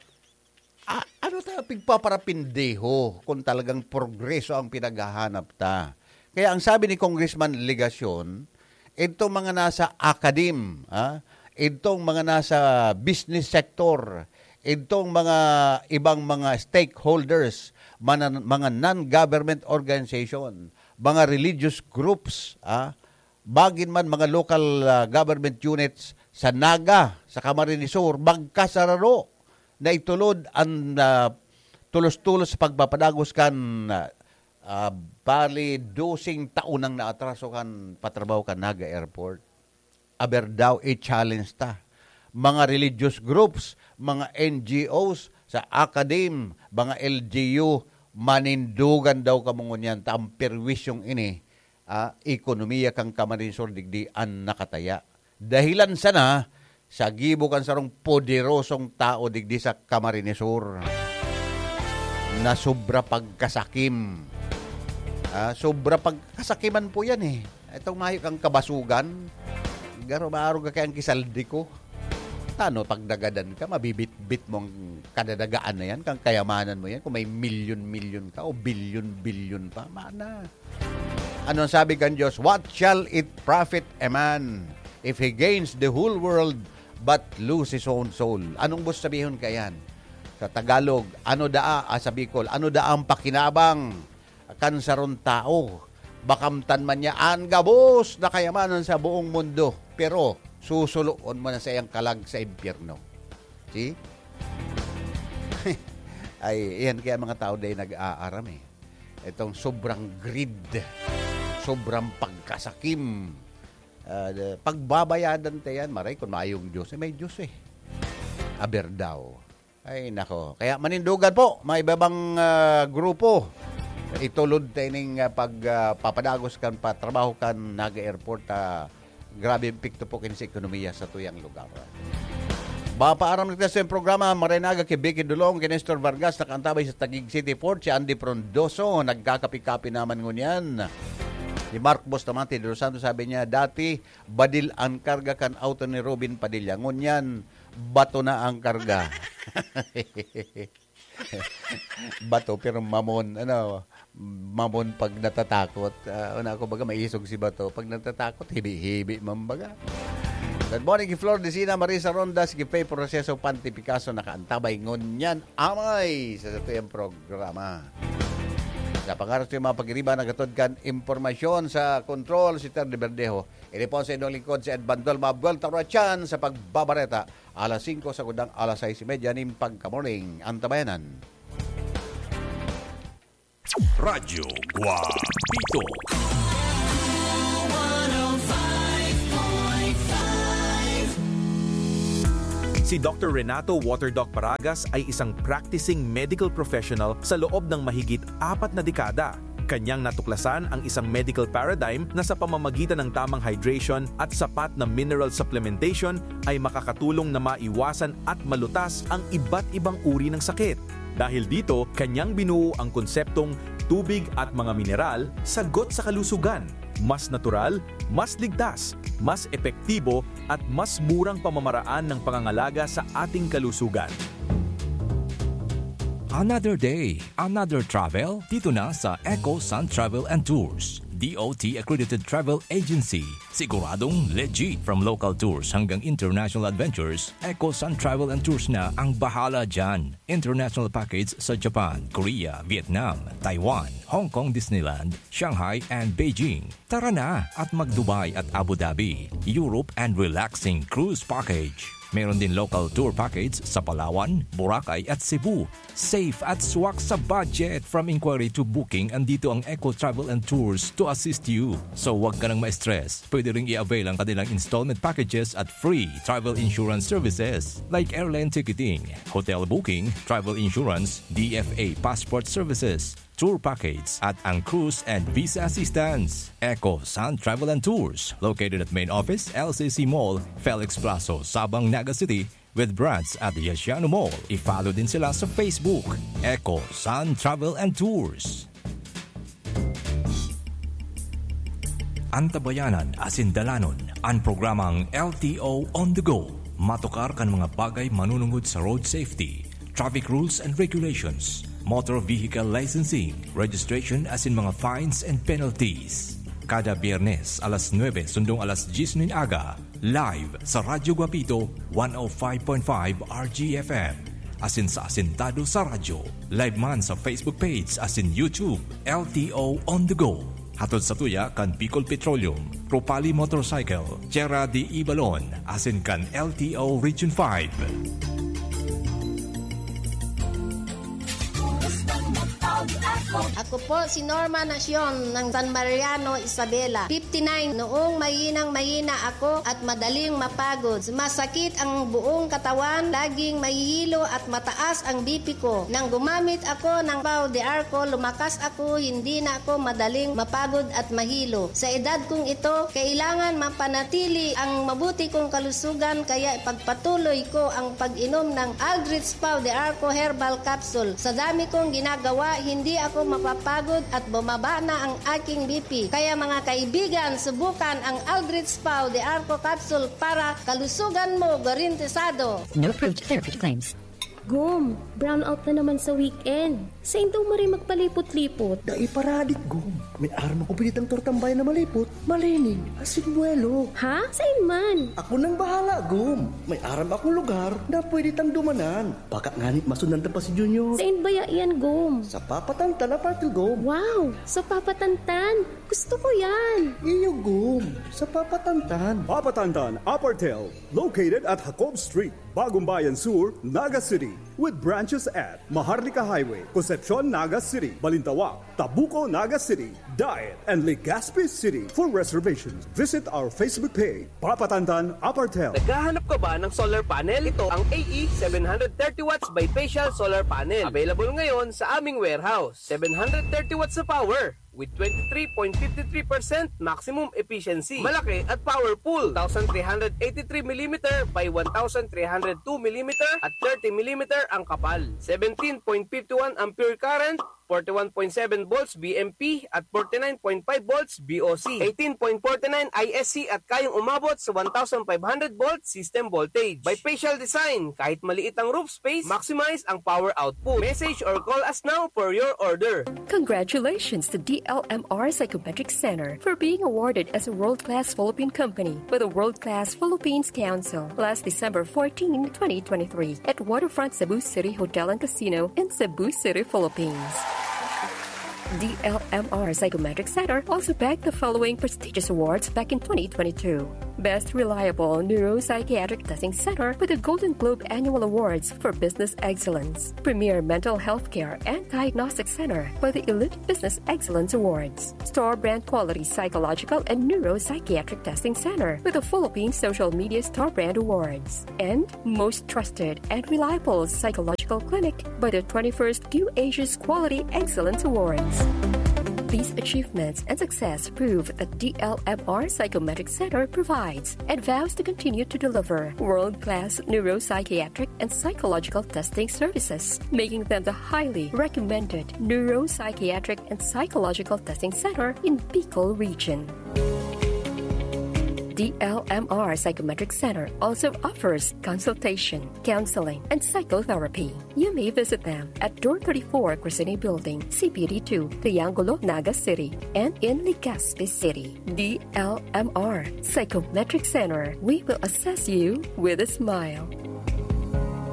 A-, ano ta pigpaparapindeho kung talagang progreso ang pinaghahanap ta? Kaya ang sabi ni Congressman Legacion, itong mga nasa academe, ah, itong mga nasa business sector, itong mga ibang mga stakeholders, mana-, mga non-government organization, mga religious groups, ah, bagin man mga local, ah, government units sa Naga, sa Camarines Sur, magkasararo na itulod an, ah, tulos-tulos sa pagpapadagos kan, ah, ah, bali, doseng taon nang naatraso kan patrabaho kan Naga Airport. Aber daw, i-challenge ta. Mga religious groups, mga N G Os, sa academe, mga L G U, manindugan daw kamo ngunyan ta ang perwisyong ini, ah, ekonomiya kan Camarines Sur digdi an nakataya. Dahilan sana sa gibo kan sarong poderosong tao digdi sa Camarines Sur na sobra pagkasakim. Ah, sobra pagkasakiman po yan eh. Itong mayo kang kabasugan, garo maaro ka kayang kisaldi ko. Tano, pag nagadan ka, mabibitbit mo ang kadadagaan na yan, kang kayamanan mo yan, kung may milyon-milyon ka o bilyon-bilyon pa, mana. Ano ang sabi kan Diyos? "What shall it profit a man if he gains the whole world but lose his own soul?" Anong gusto sabihon kaiyan? Sa Tagalog, ano daa, ah, sa Bicol, ano daa ang pakinabang kan sarong tao? Makamtan man niya an gabos na kayamanan sa buong mundo, pero susuloon mo na sa iyang kalag sa impyerno. See? Ay, iyan kaya mga tao dai nag-aaram eh. Itong sobrang greed, sobrang pagkasakim. Ah, pagbabayadan ta yan, maray kung mayong Diyos, eh, may Diyos eh. Aber daw. Ay, nako. Kaya manindugan po, mga iba-ibang, ah, grupo. Itulod ta ining, ah, pag, ah, papadagos kan patrabaho kan Naga Airport, ah, grabe epekto po kin sa ekonomiya sa tuyang lugar. Mapaaram na kita sa programa, Maray na Aga ki Vicky Dulong, ki Nestor Vargas, nakaantabay sa Taguig City Port, si Andy Frondoso, nagkakapi-kapi naman ngunyan. Si Mark Bustamante de los Santos, sabi niya, dati, badil an karga kan auto ni Robin Padilla. Ngunyan, bato na ang karga. Bato, pero mamon, ano, mamon pag natatakot. Ah, una ako baga, maisog si bato. Pag natatakot, hibi-hibi man baga. Good morning, ki Flor Decina, Marisa Rondas, ki Faye Proceso, Panty Picasso, nakaantabay ngunyan amay sa satuyang programa. Sa pangaras ko yung mga pagiriba, nagatod kan impormasyon sa kontrol si Ter de Verdejo. Ini po sa inyong lingkod, si Ed Bandol, mabuwelta ko na tiyan sa pagbabareta. Alas singko sa kundang alas sais y media nin pagka-morning. Antabayanan. Radyo Guapito. Si Doctor Renato Waterdoc Paragas ay isang practicing medical professional sa loob ng mahigit apat na dekada. Kanyang natuklasan ang isang medical paradigm na sa pamamagitan ng tamang hydration at sapat na mineral supplementation ay makakatulong na maiwasan at malutas ang iba't ibang uri ng sakit. Dahil dito, kanyang binuo ang konseptong tubig at mga mineral, sagot sa kalusugan. Mas natural, mas ligtas, mas epektibo, at mas murang pamamaraan ng pangangalaga sa ating kalusugan. Another day, another travel, dito na sa Eco Sun Travel and Tours, D O T accredited travel agency. Siguradong legit. From local tours hanggang international adventures, Eco Sun Travel and Tours na ang bahala dyan. International package sa Japan, Korea, Vietnam, Taiwan, Hong Kong Disneyland, Shanghai, and Beijing. Tara na at mag-Dubai at Abu Dhabi, Europe, and relaxing cruise package. Meron din local tour package sa Palawan, Boracay, at Cebu. Safe at swak sa budget. From inquiry to booking, andito ang Eco Travel and Tours to assist you. So, wag ka nang ma-stress. Pwede ring i-avail ang kanilang installment packages at free travel insurance services like airline ticketing, hotel booking, travel insurance, D F A passport services, tour package at ang cruise and visa assistance. Eco Sun Travel and Tours, located at main office, L C C Mall, Felix Plazo, Sabang, Naga City, with branch at Yasiano Mall. I-follow din sila sa Facebook, Eco Sun Travel and Tours. Antabayanan asin dalanon an programang L T O on the go. Matukar kan mga bagay manunungod sa road safety, traffic rules and regulations, motor vehicle licensing, registration asin mga fines and penalties. Kada Biyernes alas nuebe sundong alas dyes nin aga, live sa Radyo Guapito, one oh five point five R G F M. Asin sa Asintado sa Radyo. Live man sa Facebook page asin YouTube, L T O On The Go. Hatod sa tuya kan Bicol Petroleum, Rupali Motorcycle, Tierra de Ibalon, asin kan L T O Region five. Ako po si Norma Nacion ng San Mariano, Isabela, fifty-nine. Noong mahinang-mahina ako at madaling mapagod, sumasakit ang buong katawan, laging mahihilo at mataas ang B P ko. Nang gumamit ako ng Pau de Arco, lumakas ako, hindi na ako madaling mapagod at mahilo. Sa edad kong ito, kailangan mapanatili ang mabuti kong kalusugan, kaya ipagpatuloy ko ang pag-inom ng Aldrich Pau de Arco Herbal Capsule. Sa dami kong ginagawa, hindi ako mapapagod at bumaba na ang aking B P. Kaya mga kaibigan, subukan ang Aldrich Pau de Arco Capsule para kalusugan mo garantisado. No approved therapeutic claims. Gom, brownout na naman sa weekend. Sain daw maray magpalipot-lipot? Dai paradik, Gom. May aram akong pwede tang tortang bayan na malipot, malinig, asin buwelo. Ha? Sain man? Ako nang bahala, Gom. May aram akong lugar na pwede tang dumanan. Baka ngani masundan ta pa si Junior. Sain baya iyan, Gom? Sa Papatantan Apartel, Gom. Wow! Sa Papatantan? Gusto ko yan! Iyo, Gom. Sa Papatantan. Papatantan Apartel, located at Jacob Street, Bagumbayan Sur, Naga City, with branches at Maharlika Highway, Concepcion, Naga City, Balintawak, Tabuco, Naga City, Daet, and Legazpi City. For reservations, visit our Facebook page, Papatantan Apartel. Naghahanap ka ba ng solar panel? Ito ang A E seven hundred thirty watts bifacial solar panel. Available ngayon sa aming warehouse. Seven hundred thirty watts na power with twenty-three point five three percent maximum efficiency. Malaki at powerful. Two thousand three hundred eighty-three millimeter by one thousand three hundred two millimeter at thirty millimeter ang kapal. Seventeen point five one ampere current, forty-one point seven volts V M P at forty-nine point five volts V O C, eighteen point forty-nine I S C at kayang umabot sa one thousand five hundred volt system voltage. Bifacial design, kahit maliit ang roof space, maximize ang power output. Message or call us now for your order. Congratulations to D L M R Psychometric Center for being awarded as a world-class Philippine company by the World Class Philippines Council last December fourteen, twenty twenty-three, at Waterfront Cebu City Hotel and Casino in Cebu City, Philippines. D L M R Psychometric Center also bagged the following prestigious awards back in twenty twenty-two. Best Reliable Neuropsychiatric Testing Center with the Golden Globe Annual Awards for Business Excellence. Premier Mental Health Care and Diagnostic Center by the Elite Business Excellence Awards. Star Brand Quality Psychological and Neuropsychiatric Testing Center with the Philippine Social Media Star Brand Awards. And most trusted and reliable psychological clinic by the twenty-first Q Asia's Quality Excellence Awards. These achievements and success prove that D L M R Psychometric Center provides and vows to continue to deliver world-class neuropsychiatric and psychological testing services, making them the highly recommended neuropsychiatric and psychological testing center in Bicol Region. D L M R Psychometric Center also offers consultation, counseling, and psychotherapy. You may visit them at Door thirty-four, Crescene Building, C P D two, Triangulo, Naga City, and in Legazpi City. D L M R Psychometric Center, we will assess you with a smile.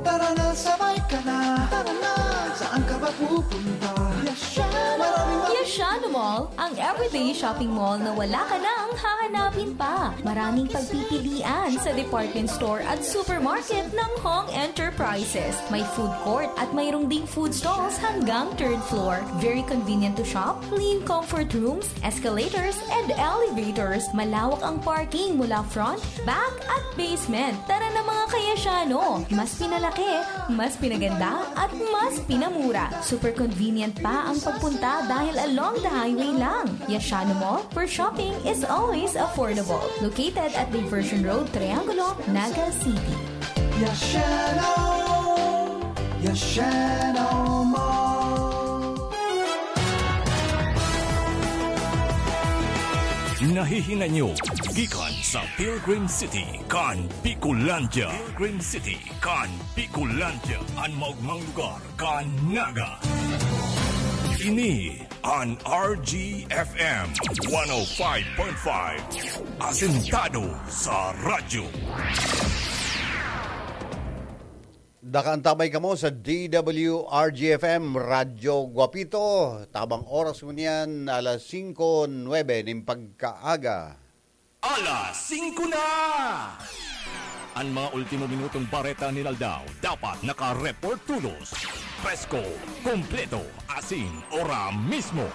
Tara na, sabay ka na. Tara na, saan ka ba pupunta? Yasha! Maraming Yasha! Ano Mall, ang everyday shopping mall na wala ka nang hahanapin pa. Maraming pagpipilian sa department store at supermarket ng Hong Enterprises. May food court at mayroong ding food stalls hanggang third floor. Very convenient to shop, clean comfort rooms, escalators, and elevators. Malawak ang parking mula front, back, at basement. Tara na, mga kayasyano! Mas pinalaki, mas pinaganda, at mas pinamura. Super convenient pa ang pagpunta dahil along the highway lang. Yashano Mall, where shopping is always affordable. Located at Diversion Road, Triangulo, Naga City. Yashano! Yashano Mall! Nahihinanyo gikan sa Pilgrim City kan Bicolandia. Pilgrim City kan Bicolandia, an maogmang lugar kan Naga. Ini an R G F M one oh five point five, asentado sa radyo. Nakaantabay kamo sa D W R G F M, Radyo Guapito. Tabang oras mo niyan, alas singko nuebe nin pagkaaga. Alas singko na! An mga ultimo minutong bareta nin aldaw dapat naka-report tolos. Presko, kompleto, asin ora mismo.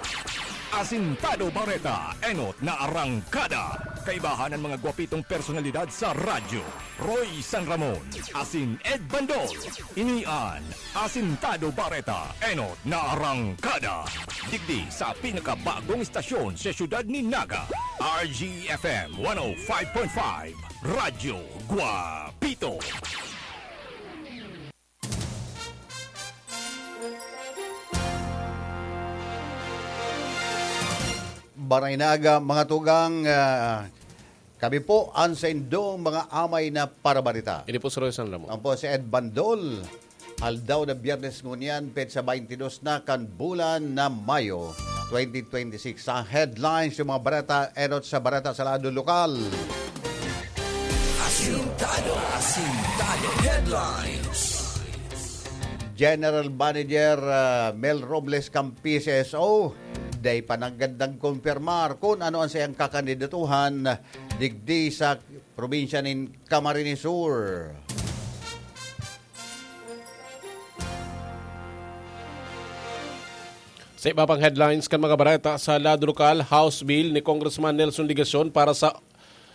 Asintado Bareta, enot na arangkada. Kaibahan an mga gwapitong personalidad sa radyo. Roy San Ramon, asin Ed Bandol. Ini an Asintado Bareta, enot na arangkada. Digdi sa pinakabagong istasyon sa siyudad ni Naga, R G F M one oh five point five, Radyo Guapito. Baraynaga, mga tugang, ah, kami po an saindong mga amay na parabarita. Ini po si Roy San Ramon. Ako po si Ed Bandol. Aldaw na Biyernes ngunyan, petsa twenty-dos na kan bulan na Mayo, twenty twenty-six. Sa headlines, yung mga bareta, enot sa bareta sa lado lokal. Asintado, asintado headlines. General Manager, ah, Mel Robles kan P C S O, dai pa nanggad nagkumpirmar kun ano an saiyang kakandidatuhan digdi sa probinsya nin Camarines Sur. Sa iba pang headlines kan mga bareta sa lado lokal, House Bill ni Congressman Nelson Legacion para sa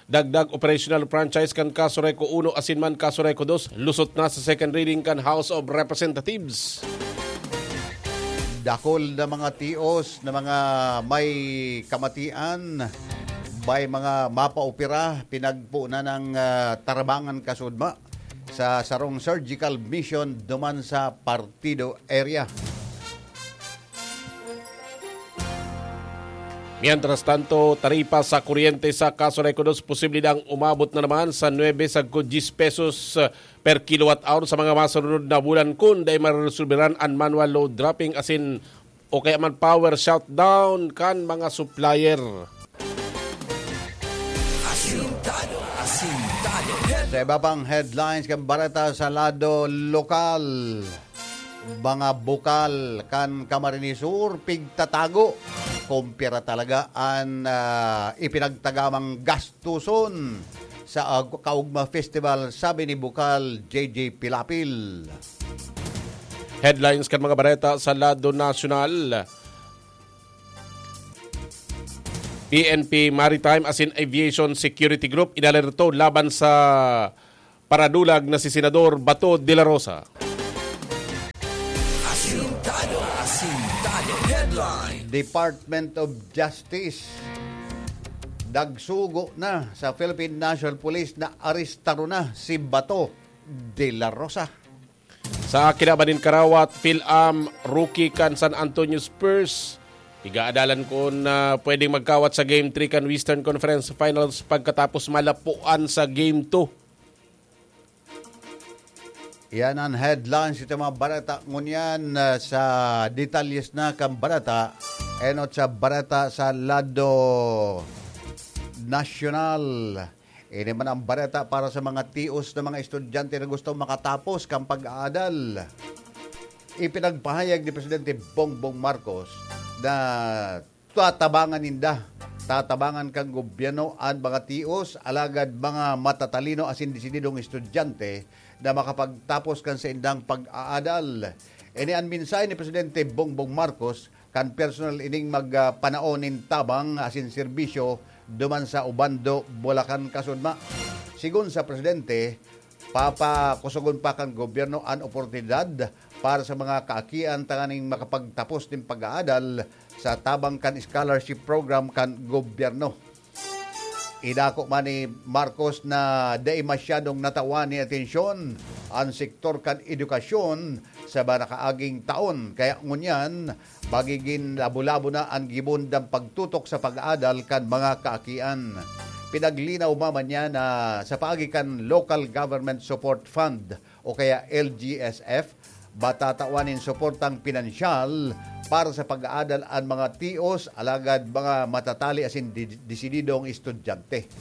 dagdag operational franchise kan Kaso Reco uno asin man Kaso Reco dos, lusot na sa second reading kan House of Representatives. Dakul na mga tios na mga may kamatian, may mga mapaopera, pinagpo na ng, ah, tarabangan kasudma sa sarong surgical mission duman sa Partido area. Mientras tanto, taripa sa kuryente sa Kaso Reco dos posible nang umabot na naman sa nuebe sagkod dyes pesos per kilowatt hour sa mga masunod na bulan kun dai maresolberan an manual load dropping asin o kaya man power shutdown kan mga supplier. Asintado, asintado. Sa iba pang headlines kan bareta sa lado lokal, mga bukal kan Camarines Sur pigtatago. Kumpira talaga an, ah, ipinagtagamang gastuson sa Ag-, Kaugma Festival, sabi ni Bukal J J Pilapil. Headlines kan mga bareta sa lado nasyonal. P N P Maritime asin Aviation Security Group inalerto laban sa paradulag na si Senador Bato de la Rosa. Asintado, asintado headline. Department of Justice nagsugo na sa Philippine National Police na arestaron na si Bato de la Rosa. Sa kinaban nin karawat, Phil-Am, rookie kan San Antonio Spurs, igaadalan kun, ah, pwedeng magkawat sa Game three kan Western Conference Finals pagkatapos malapuan sa Game two. Yan ang headlines ito mga bareta. Ngunyan, ah, sa detalyes na kan bareta, enot sa bareta sa lado nasyonal. Ini man ang bareta para sa mga tios na mga estudyante na gustong makatapos kan pag-aadal. Ipinagpahayag ni Presidente Bongbong Marcos na tatabangan ninda. Tatabangan kan gobyerno an mga tios, alagad mga matatalino asin desididong estudyante na makapagtapos kan saindang pag-aadal. Ini an mensahe ni Presidente Bongbong Marcos kan personal ining magpanaon nin tabang asin serbisyo duman sa Obando, Bulacan, kasudma. Sigon sa Presidente, papakusogon pa kan gobyerno an oportunidad para sa mga kaakian tanganing makapagtapos nin pag-aadal sa tabang kan scholarship program kan gobyerno. Idako man ni Marcos na dai masyadong natawan ni atensyon an sektor kan edukasyon sa mga nakaaging taon, kaya ngunyan magigin labo-labo na an gibohon dang pagtutok sa pag-aadal kan mga kaakian. Pinaglinaw man niya na sa paagi kan Local Government Support Fund o kaya L G S F, matatawan nin suportang pinansyal para sa pag-aadal an mga tios, alagad mga matatali asin di-, desididong estudyante.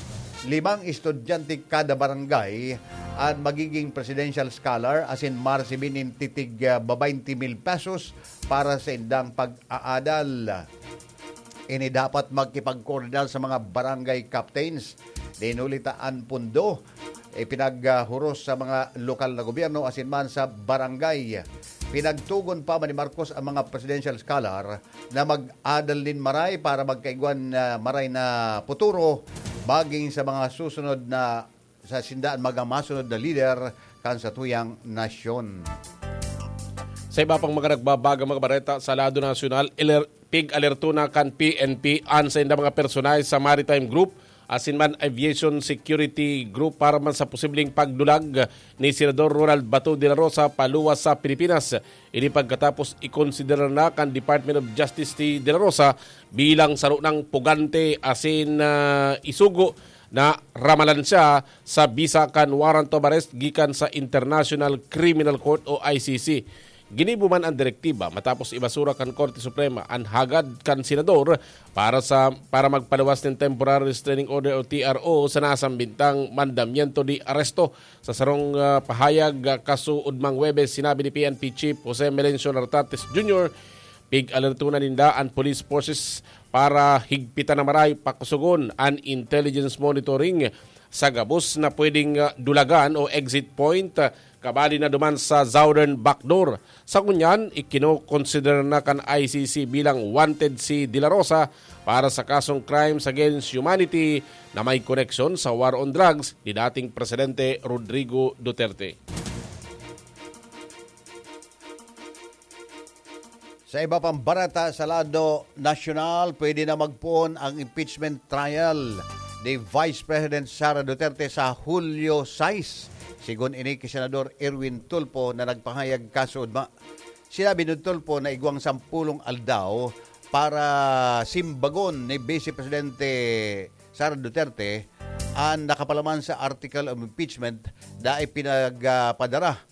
Limang estudyante kada barangay an magiging presidential scholar asin maresibi nin titig, ah, babaynte mil pesos para sa indang pag-aadal. Ini dapat magkipagkoordinar sa mga barangay captains. Dinuli ta an pondo, ipinaghuros sa mga lokal na gobyerno asin man sa barangay. Pinagtugon pa man ni Marcos ang mga presidential scholar na mag-adal nin maray para magkaigwan na maray na puturo maging sa mga susunod na sa sindaan mga masunod na lider kan satuyang nasyon. Sa iba pang mga nagbabagang mga bareta sa lado nasyonal, iler-, pig-alerto na kan P N P an sainda mga personahe sa Maritime Group asin man Aviation Security Group para man sa posibleng pagdulag ni Senador Ronald Bato de la Rosa paluwas sa Pilipinas. Ini pagkatapos ikonsidera na kan Department of Justice si de la Rosa bilang saro nang pugante asin, ah, isugo na ramalan siya sa bisa kan warrant of arrest gikan sa International Criminal Court o I C C. Ginibo man ang direktiba matapos ibasura kan Korte Suprema an hagad kan senador para sa, para magpaluwas nin Temporary Restraining Order o T R O sa nasambitang mandamiento de aresto. Sa sarong, ah, pahayag, ah, kasuodmang Huwebes, sinabi ni P N P Chief Jose Melencio Nartates Junior, pig-alerto na ninda an police forces para higpitan na maray pakusogon an intelligence monitoring sa gabos na pwedeng, ah, dulagan o exit point, ah, kabali na duman sa southern backdoor. Sa ngunyan, ikinokonsidera na kan I C C bilang wanted si De La Rosa para sa kasong crimes against humanity na may koneksyon sa war on drugs ni dating Presidente Rodrigo Duterte. Sa iba pang bareta sa lado nasyonal, pwede na magpoon ang impeachment trial ni Vice President Sara Duterte sa Hulyo sais. Sigon ini ki Senador Erwin Tulfo na nagpahayag kasuodma. Sinabi ni Tulfo na igwang sampulong aldaw para simbagon ni Vice Presidente Sara Duterte an nakapalaman sa article of impeachment na ipinagpadara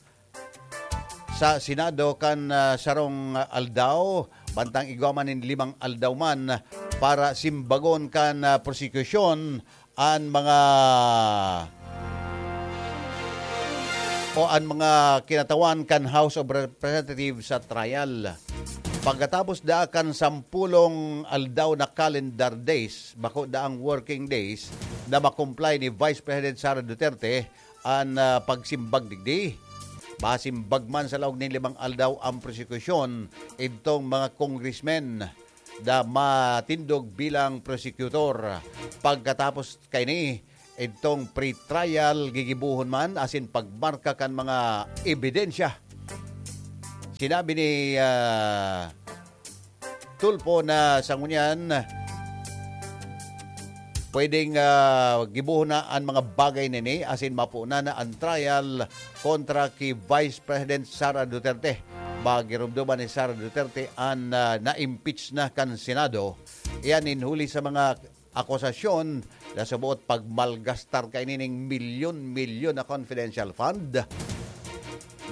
sa Senado kan, ah, sarong aldaw, bantang igwa man nin limang aldaw man para simbagon kan, ah, prosekusyon an mga, o an mga kinatawan kan House of Representatives sa trial. Pagkatapos daa kan sampulong aldaw na calendar days, bako daang working days, na makomply ni Vice President Sara Duterte an, ah, pagsimbag digdi. Masimbag man sa laog nin limang aldaw ang prosekusyon, idtong mga congressmen na matindog bilang prosecutor. Pagkatapos kaini, idtong pre-trial gigibohon man asin pagmarka kan mga ebidensya. Sinabi ni, ah, Tulfo na sa ngunyan, pwedeng, ah, gibohon na an mga bagay nini asin mapoon na an trial kontra ki Vice President Sara Duterte. Magirumduman ni Sara Duterte an, ah, na-impeach na kan Senado. Iyan nin huli sa mga akusasyon na suboot pagmalgastar kaini ning milyon-milyon na confidential fund,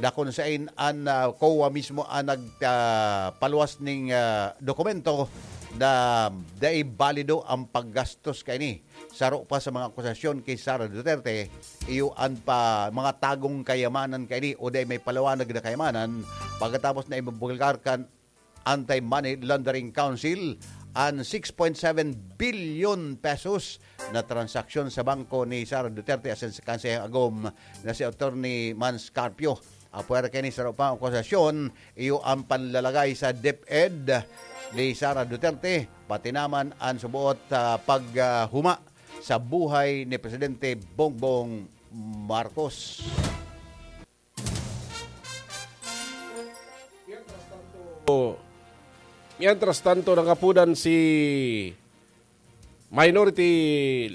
na kun sain an, ah, COA mismo an nag, ah, paluwas ning, ah, dokumento na dai balido ang paggastos kaini. Saro pa sa mga akusasyon ki Sara Duterte, iyo an pa mga tagong kayamanan kaini o dai may paliwanag na kayamanan pagkatapos na imbulgar kan Anti-Money Laundering Council an six point seven billion pesos na transaksyon sa bangko ni Sara Duterte asin sa kansehang agom na si Attorney Mans Carpio. Apwera kaini sa saro pang akusasyon, iyo ang panlalagay sa DepEd ni Sara Duterte, pati naman an suboot, ah, paghuma sa buhay ni Presidente Bongbong Marcos. Mientras tanto, nangapodan si Minority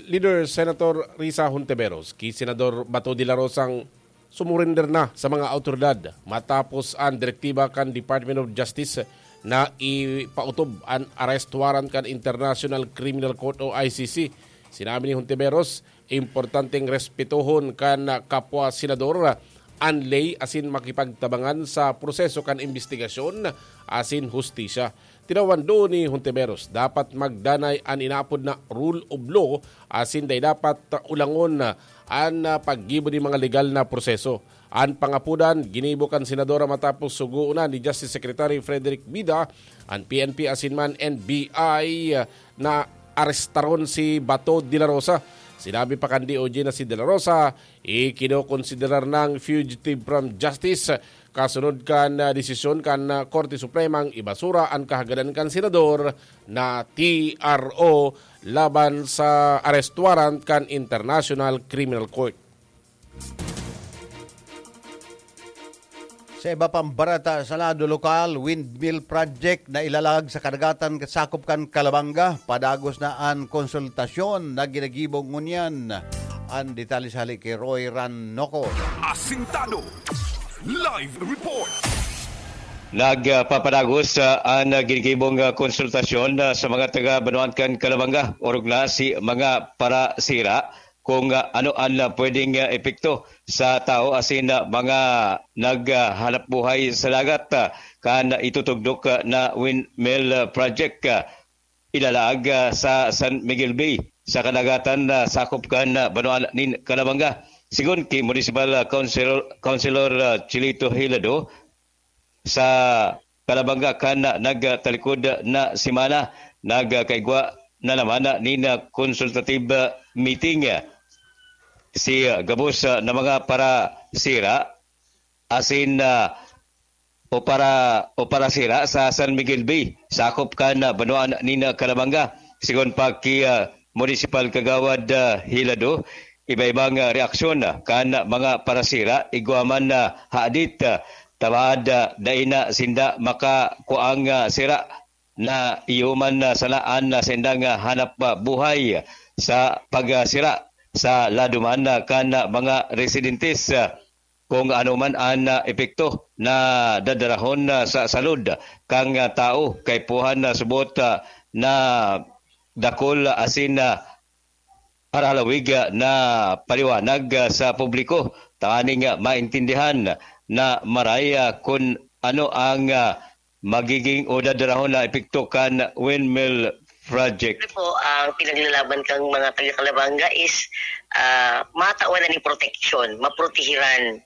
Leader Senator Risa Hontiveros ki Senador Bato de la Rosang sumurender na sa mga awtoridad matapos an direktiba kan Department of Justice na ipautob an arrest warrant kan International Criminal Court o I C C. Sinabi ni Hontiveros, importanteng respetohon kan kapwa senador an ley asin makipagtabangan sa proseso kan imbestigasyon asin hustisya. Tinawan duon ni Hontiveros, dapat magdanay an inaapod na rule of law asin dai dapat ulangon an paggibo nin mga legal na proseso. An pangapodan ginibo kan senadora matapos sugoon na ni Justice Secretary Frederick Vida an P N P asin man N B I na arestaron si Bato de la Rosa. Sinabi pa kan D O J na si de la Rosa ikinokonsiderar nang fugitive from justice kasunod kan, ah, desisyon kan, ah, Korte Supremang ibasura an kahagadan kan senador na T R O laban sa arrest warrant kan International Criminal Court. Sa iba pang bareta sa lado lokal, windmill project na ilalag sa kadagatan sakop kan Calabanga, padagos na an konsultasyon na ginagibo ngunyan. An detalye sa hali ki Roy Ranoco. Asintado Live Report. Nagpapadagos, ah, an ginigibong, ah, konsultasyon, ah, sa mga taga Banwaan kan Calabanga, orog na si mga parasira kung, ah, ano an, ah, pwedeng, ah, epekto sa tao asin, ah, mga naghahanap buhay sa dagat, ah, kan itutugdok, ah, na windmill, ah, project, ah, ilalaag, ah, sa San Miguel Bay, sa kadagatan na sakop kan, ah, banwaan nin Calabanga. Sigon ki Municipal, ah, Councilor, Councilor, ah, Chilito Hilado, sa Calabanga kan nagtalikod na semana, nagkaigwa na naman nin consultative meeting si gabos na mga parasira asin o para o parasira sa San Miguel Bay, sakop kan banwaan nin Calabanga. Sigon pa ki Municipal Kagawad, ah, Hilado, iba-ibang, ah, reaksyon, ah, kan mga parasira, igwa man na hadit, ah, tabaad, ah, dai na sinda makakuang, ah, sira na iyo man, ah, sana an, ah, sindang, ah, hanap, ah, buhay sa pagsira sa lado man, ah, kan, ah, mga residentes, ah, kung ano man an, ah, epekto na dadarahon, ah, sa salud kan, ah, tao, kaipuhan na subot, ah, na dakul asin, ah, aralawig, ah, na paliwanag, ah, sa publiko tanganing, ah, maintindihan na maray, ah, kun ano ang, ah, magiging o dadarahon na epekto kan windmill project. Siyempre po, ang pinaglalaban kang mga taga-Calabanga is, ah, matawan na ni proteksyon, maprotehiran.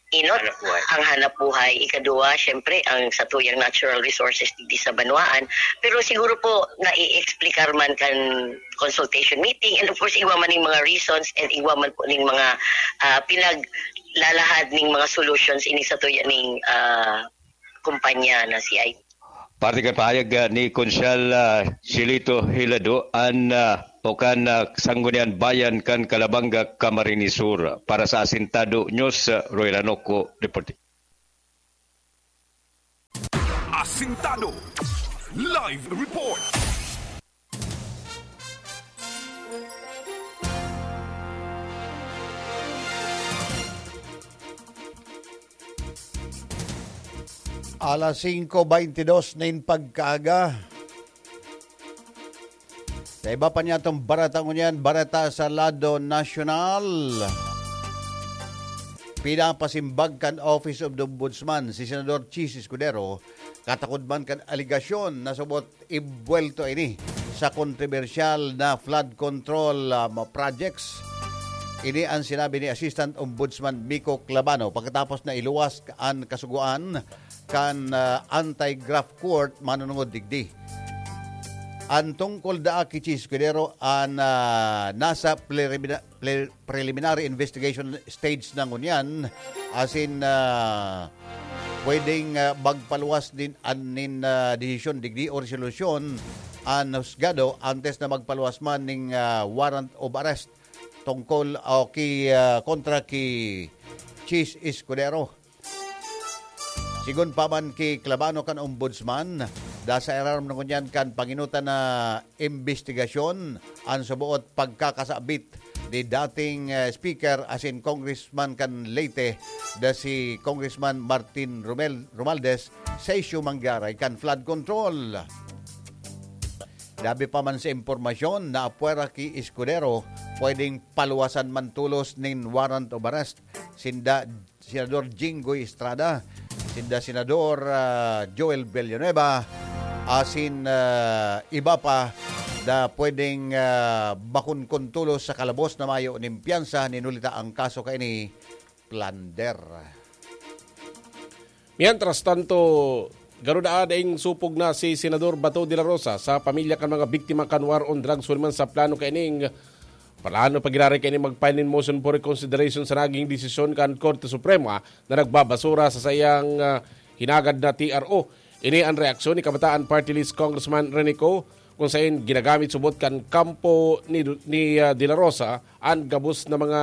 Inot, ang hanap buhay. Ikaduwa, siyempre, ang satuyang natural resources digdi sa banwaan. Pero siguro po, nai-explicar man kan consultation meeting, and of course, igwa man ning mga reasons and igwa man po ning mga, ah, pinaglalahad ning mga solutions ini satuya ning, ah, kumpanya na si I T. Parte kan pahayag, ah, ni Konsehal, ah, Chilito Hilado an, ah, o kan, ah, Sangguniang Bayan kan Calabanga, Camarines Sur. Para sa Asintado News, ah, Roy Ranoco, reporting. Asintado Live Report. Alas singko beintidos nin pagkaaga. Sa iba pa niyatong bareta ngunyan, bareta sa lado nasyonal. Pinapasimbag kan Office of the Ombudsman si Senador Chiz Escudero, katakod man kan alegasyon na subot ibuwelto ini sa kontrobersyal na flood control, um, projects. Ini ang sinabi ni Assistant Ombudsman Miko Clabano pagkatapos na iluwas an kasugoan kan, ah, anti-graft court manunungod digdi. An tungkol daa ki Chiz Escudero an, ah, nasa prelimina-, pre-, preliminary investigation stage na ngunyan, asin, ah, pwedeng, ah, magpaluwas din an nin, ah, desisyon, digdi o resolusyon an husgado antes na magpaluwas man ning, ah, warrant of arrest tungkol o ki, ah, kontra ki Chiz Escudero. Sigon pa man ki Clabano kan Ombudsman, da sa irarom na ngunyan kan panginutan na imbestigasyon an suboot pagkakasabit ni dating, eh, Speaker asin Congressman kan Leyte, da si Congressman Martin Romel-, Romualdez sa isyu manggaray kan flood control. Labi pa man sa impormasyon na apwera ki Escudero, pwedeng paluwasan man tolos nin warrant of arrest sinda Senador Jinggoy Estrada, sinda Senador, ah, Joel Villanueva, asin, ah, iba pa na pwedeng, ah, makunkon tolos sa kalabos na mayo nin piyansa nin huli ta ang kaso kaini plunder. Mientras tanto, garo daa daing supog na si Senador Bato de la Rosa sa pamilya kan mga biktima kan war on drugs huli man sa plano kaining, plano pa giraray kaini mag-file nin motion for reconsideration sa naging desisyon kan Korte Suprema na nagbabasura sa saiyang, ah, hinagad na T R O. Ini an reaksyon ni Kabataan Party List Congressman Rene Co, kung sain ginagamit subot kan kampo ni, ni, ah, De La Rosa an gabos na mga,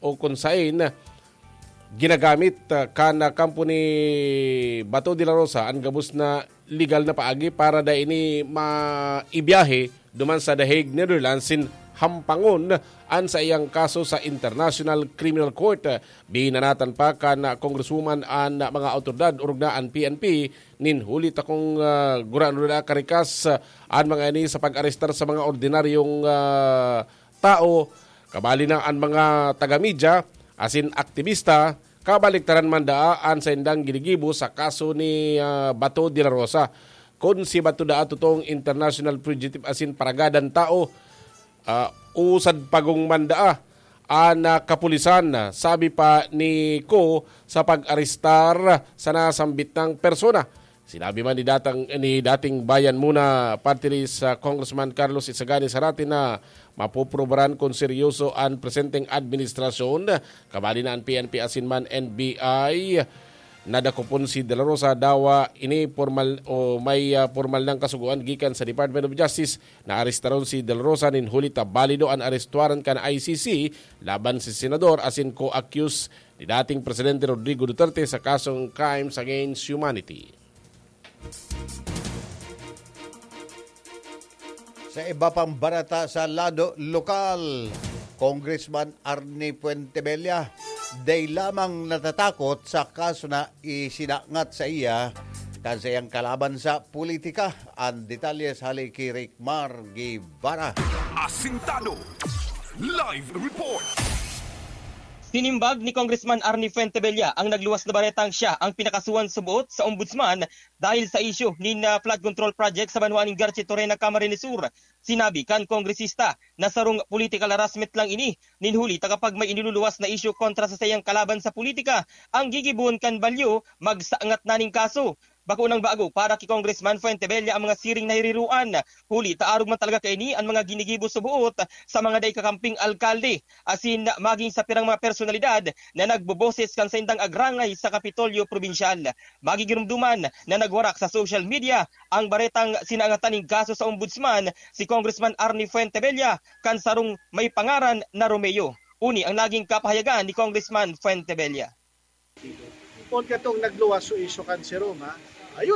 o kung sain ginagamit, ah, kan, ah, kampo ni Bato de la Rosa an gabos na legal na paagi para dai ini maibiyahe duman sa The Hague, Netherlands, sin hampangon an saiyang kaso sa International Criminal Court. Binanatan pa kan, ah, Congresswoman an, ah, mga awtoridad orog na an P N P nin huli ta kung, ah, gurano na karikas, ah, an mga ini sa pag-arestar sa mga ordinaryong, ah, tao, kabali na an mga taga-media asin aktibista, kabaliktaran man daa an saindang ginigibo sa kaso ni, ah, Bato de la Rosa. Kun si Bato daa totoong international fugitive asin paragadan tao, ah, usad pagong man daa an, ah, kapulisan, sabi pa ni Co sa pag-arestar sa nasambit nang persona. Sinabi man ni datang, ni dating Bayan Muna Party List, ah, Congressman Carlos Isagani Zarate na mapoprobaran kun seryoso an presenteng administrasyon, kabali na an P N P asin man N B I. Nadakopon si De La Rosa, dawa ini pormal o may, ah, pormal nang kasugoan gikan sa Department of Justice na arestaron si De La Rosa nin huli ta balido an arest warrant kan I C C laban si Senador asin co-accused ni dating Presidente Rodrigo Duterte sa kasong crimes against humanity. Sa iba pang barata sa lado lokal, Congressman Arnie Fuentebella, day lamang natatakot sa kaso na isinangat sa iya kan saiyang kalaban sa politika. Ang detalye sa hali ki Rick Mar Guevara. Asintado. Live report. Sinimbag ni Congressman Arnie Fuentebella ang nagluwas na baretang siya ang pinakasuhan subot sa Ombudsman dahil sa isyu nin, ah, flood control project sa banwaan nin Garchitoren na Camarines Sur. Sinabi kan kongresista na sarong political harassment lang ini, nin huli ta kapag may iniluluwas na isyu kontra sa saiyang kalaban sa politika, ang gigibohon kan balyo, magsangat na ning kaso. Bako nang bago para ki Congressman Fuentebella ang mga siring na hiriruan, huli ta arog man talaga kaini an mga ginigibo sa buot sa mga dai kakamping alkalde, asin maging sa pirang mga personalidad na nagboboses kan saindang agrangay sa Kapitolyo Probinsyal. Magigirumduman na nagwarak sa social media ang baretang sinangatan nin kaso sa Ombudsman si Congressman Arnie Fuentebella kan sarong may pangaran na Romeo. Uni ang naging kapahayagan ni Congressman Fuentebella. Kun katong nagluwas so isyu kan si Roma,